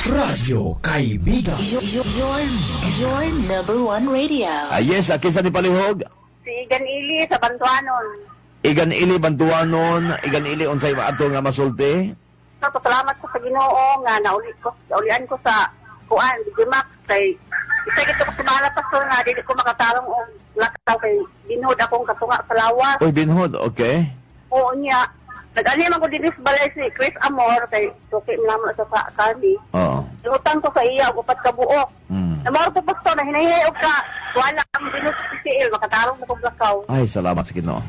Radyo Kaibigan. Your number one radio. Ah, yes, kinsa ni palihog? Si Ganili sa Bantuanon. Igan ili Bantuanon, igan ili unsay maato nga masulti? So, pasalamat ko sa Ginoo nga nauli ko, naulian ko sa kuan, Gimax kay isa gito ko sumala, pastor, nga dili ko makatarong og lakaw kay binuod akong katunga sa lawas. Uy, binhod, okay. Oo niya. Nag-ani man ko dinhi sa balay si Chris Amor kay suki man namo sa kani. Oo. Inutang ko sa iya og 4 ka buok. Namor ko, pastor, na hinahinay og ka wala ang binuod sa PCL makatarong na kog lakaw. Ay, salamat sa Ginoo.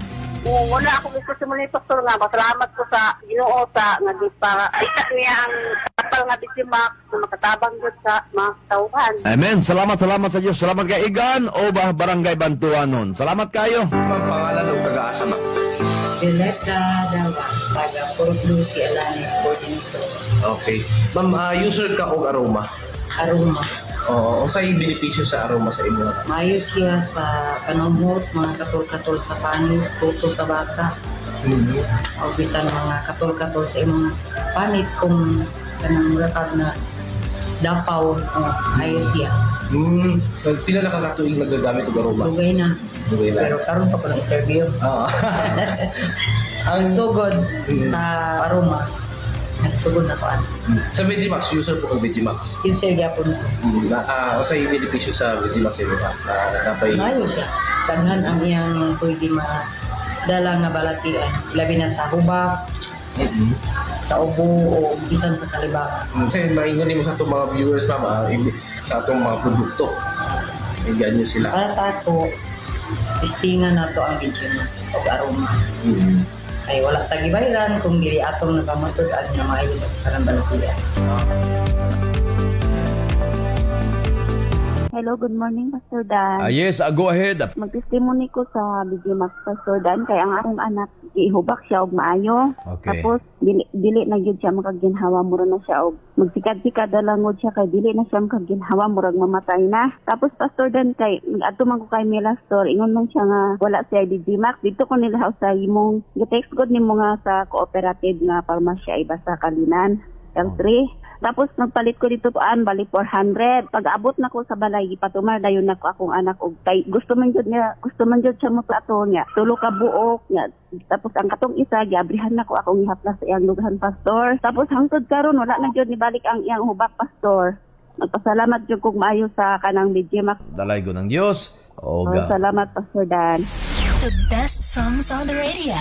Oo, wala ako gusto sa muli, pastor, nga pasalamat ko sa Ginoo sa nga di pa isa niya ang kapal nga bitimak na makatabang gud sa mga tawhan. Amen. Salamat, salamat sa Diyos. Salamat kay Igan o ba Barangay Bantuanon. Salamat kayo. Ang pangalan o taga-asa ba? Violeta Dawa, taga Port Lucie, Alani, coordinator. Okay. Ma'am, user ka og aroma? Aroma. Oo, unsay benepisyo sa aroma sa imo? Maayo siya sa panumot, mga katol-katol sa panit, tuto sa bata, o bisan mga katol-katol sa imong panit kung kanang murakag na dapaw, o, ayo siya. Pila na ka katuig nagagamit og aroma? Dugay na. Dugay na. Pero karon pa ko ng interview. Oo. Ang sugod sa aroma, nagsugod na ko ano. Sa Vegimax, user po kag Vegimax? User gyapon ko. Unsay benepisyo sa Vegimax sa imo? Napay Maayo siya. Daghan ang iyang pwede madala nga balatian. Labi na sa hubak, sa ubo, o bisan sa kalibakan. Kasi maingon nimo sa atong mga viewers, ma'am, sa atong mga produkto. Inggan nyo sila. Para sa ako, testingan nato ang Vegimax o aroma. Ay wala tagibayran kung dili atong nakamatod-an nga maayo sa sarang balatian. Hello, good morning, Pastor Dan. Ah, yes, go ahead. Mag-testimony ko sa BG Max, Pastor Dan, kay ang akong anak gihubak siya og maayo. Tapos dili dili na gyud siya makaginhawa, mura na siya og magsikad-sikad na lang gud siya kay dili na siya makaginhawa, murag mamatay na. Tapos, Pastor Dan, kay adto man ko kay Mela Store, ingon man siya nga wala siya BG Max. Dito ko nila sa imong gi-text gud nimo nga sa cooperative nga parmasya iba sa Kalinan. L3. Tapos nagpalit ko dito an bali 400. Pag abot na ko sa balay, gipatumar dayon nako akong anak og kay gusto man jud niya, gusto man jud siya moplato niya. 3 ka buok niya. Tapos ang katong isa giabrihan nako akong ihaplas sa iyang dughan, pastor. Tapos hangtod karon wala na jud nibalik ang iyang hubak, pastor. Nagpasalamat jud kog maayo sa kanang BG Max. Dalay ko ng Diyos. Oh, Oga. salamat, Pastor Dan. The best songs on the radio.